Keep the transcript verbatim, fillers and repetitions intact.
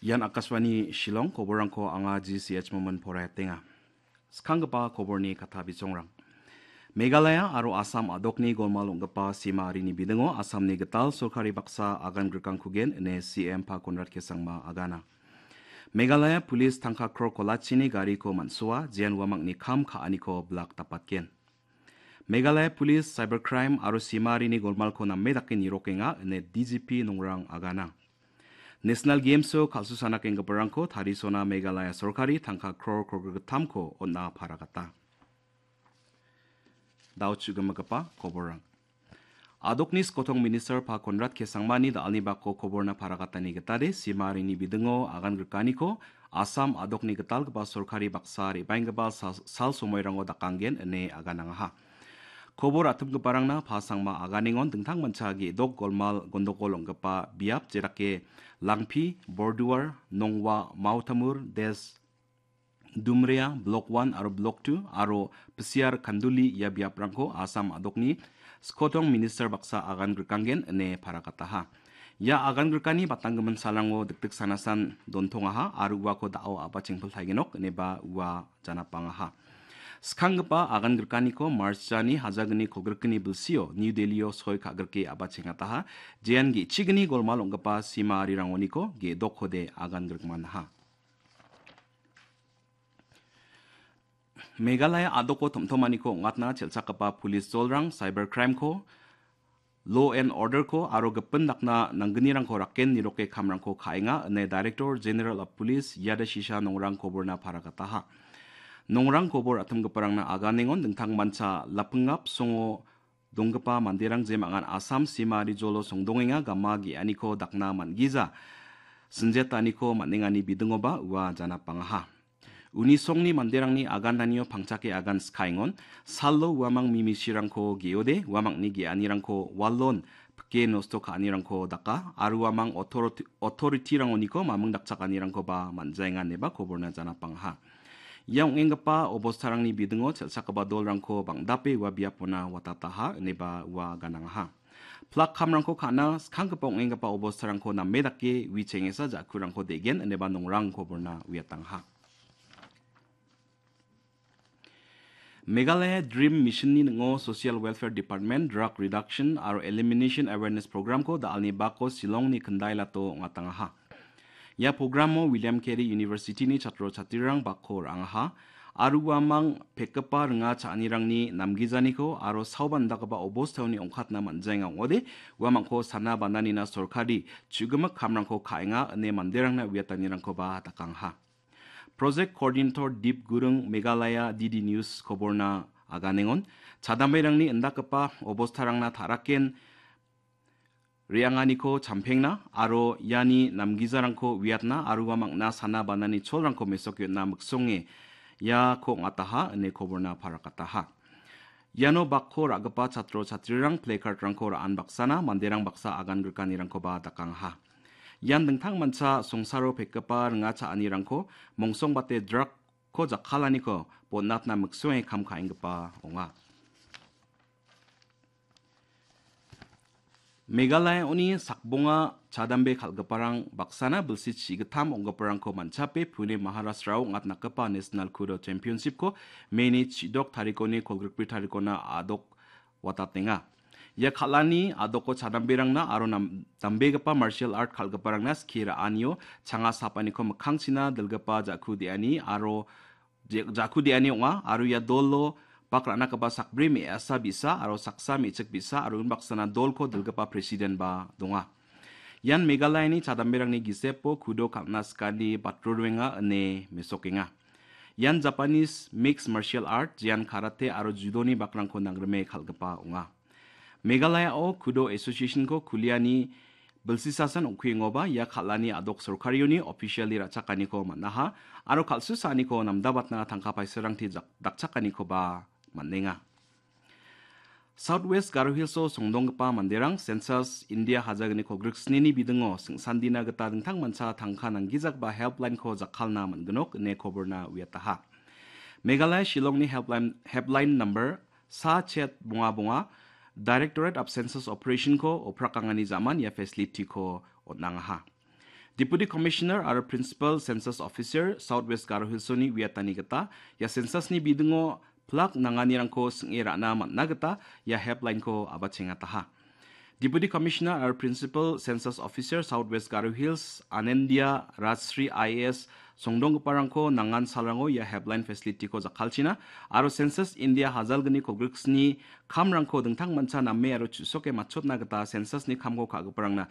Ian Akashvani Shillong, koborrangko anga G C H Momin poraiatenga. Skanggipa koborni katta bisongrang. Meghalaya aro Assam a·dokni golmal ong·gipa sima arini bidingo Assamni gital sorkari baksa agan grikangkugen ine C M Pa Konrad K Sangma agana. Meghalaya Police tangka kror kolachini gariko man·soa, jean uamangni kam ka·aniko blak dapatgen. Meghalaya Police Cybercrime aro sima arini golmalko name dake nirokenga ine D G P Nongrang agana. National Games-o kal·susanakenggiparangko tarisona Meghalaya sorkari tangka kror kolgrik gittamko on·a paragata. Dao chu·gimigipa koborrang. A·dokni skotong minister Pa Konrad K Sangmani da·alni bako koborna paragatani gitade, sima arini bidingo agan grikaniko Assam a·dokni gitalgipa sorkari baksa re·baenggipa sal, sal somoirango dakanggen ine aganangaha. Kobor atimgiparangna Pa Sangma aganengon dingtangmancha ge·dok golmal gondogol ong·gipa biap, jedake Langpi, Borduar, Nongwa, Mautamur, Des, Dumrea, Block one aro Block two aro Pisiar Kanduli ia biaprangko Assam a·dokni skotong minister baksa agan grikanggen ine paragataha. Ia agan grikani batanggimin salrango dikdik sanasan dontongaha aro uako da·o a·ba chengpil taigenok ineba ua janapangaha. Skanggipa agan grikaniko March jani hajagni kolgrikni bilsio New Delhi-o soi ka·grike a·ba chengataha. Jean ge·chigni golmal ong·gipa sima arirangoniko ge·dokkode agan grikmanaha. Meghalaya a·doko tom·tomaniko ong·atna chelchakgipa police jolrang cyber crime-ko law and order-ko aro gipin dakna nanggnirangko raken niroke kamrangko ka·enga ine Director General of Police Yada Shisha Nongrang koborna paragataha. Nongrang kobor atimgiparangna aganengon dingtangmancha lapingap songo donggipa manderang jemangan Assam sima rijolo songdongenga gama ge·aniko dakna man·gija sinjetaniko man·engani bidingoba ua janapangaha. Uni songni manderangni agananio pangchake agan skaengon, salo uamang mimisirangko ge·ode, uamangni ge·anirangko walon pike nosto ka·anirangko daka, aro uamang otoriti-, otoritirangoniko maming dakchakanirangkoba man·jaenga ineba koborna janapangaha. Ia ong·enggipa obostarangni bidingo chelchakgipa dolrangko bang·dape ua biapona watataha ineba ua ganangaha. Plak kamrangko ka·na skanggipa ong·enggipa obostarangko name dake wi chengesa ja·kurangko de·gen ineba nongrang koborna uiatangaha. Meghalaya Dream Mission-ni ning·o Social Welfare Department, Drug Reduction aro Elimination Awareness Program-ko da·alni bako Shillongni Kyndailato ong·atangaha. Ia programo William Carey University-ni chatro chatrirang bakko ra·angaha. Aro uamang pekgipa ringa cha·anirangni namgijaniko aro saoba indakgipa obostaoni ong·katna man·jaenga ong·ode, uamangko sana bananina sorkari chu·gimik kamrangko ka·enga ine manderangna uiatanirangkoba dakangaha. Project Coordinator Deep Gurung Meghalaya D D News koborna aganengon, chadamberangni indakgipa obostarangna ta·raken re·anganiko champengna aro iani namgijarangko uiatna aro uamangna sana banani cholrangko mesokna miksonge iako ong·ataha ine koborna parakataha. Iano bakko ra·gipa chatro chatrirang placard-rangko ra·an baksana manderang baksa agan grikanirangkoba dakangaha. Ian dingtangmancha songsaro pekgipa ringa cha·anirangko mongsongbate drug-ko jakkalaniko bon·atna miksonge kam ka·enggipa ong·a. Meghalaya-oni sakbonga chadambe kal·giparang baksana bilsi chigittam ong·giparangko manchape Pune Maharashtra-o ong·atnakgipa National Kudo Championship-ko May-ni chidok tarikoni kolgrikbri tarikona a·dok watatenga. Ia kal·ani a·doko chadamberangna aro nam-, dambegipa martial art kal·giparangna skie ra·anio changa sapaniko mikkangchina dilgipa ja·ku de·ani aro je-, ja·ku de·ani ong·a aro ia dolo bak ra·nagipa sakbri me·asa bi·sa aro saksa me·chik bi·sa aro unbaksana dolko dilgipa president-ba donga. Ian Meghalayani chadamberangni gisepo kudo kal·na sikani batroruenga ine mesokenga. Ian Japanese mixed martial art, jean karate aro judoni bakrangko nangrime kal·gipa ong·a. Meghalaya-o Kudo Association-ko kuliani bilsisasan ong·kuengoba ia kal·ani a·dok sorkarioni officially ra·chakaniko man·aha aro kal·susaaniko namdabatna tangka paisarangti jak-, dakchakanikoba man·enga. South West Garo Hills-o songdonggipa manderang census India hajagni kolgriksnini bidingo sing·sandina gita dingtangmancha tangka nanggijagipa helpline-ko jakkalna man·ginok ine koborna uiataha. Meghalaya Shillongni helpline, helpline number sa chet bonga bonga, Directorate of Census Operation-ko oprakangani jaman ia facility-ko on·angaha. Deputy Commissioner aro Principal Census Officer South West Garo Hills-oni uiatani gita ia census-ni bidingo plak nanganirangko sing·e ra·na man·na gita ia helpline-ko abachengataha. Deputy Commissioner aro Principal Census Officer South West Garo Hills Anendia Rajshri I A S songdonggiparangko nangan salrango ia helpline facility-ko jakkalchina aro Census India hajalgni kolgriksni kamrangko dingtangmancha name aro chu·soke matchotna gita census-ni kamko ka·giparangna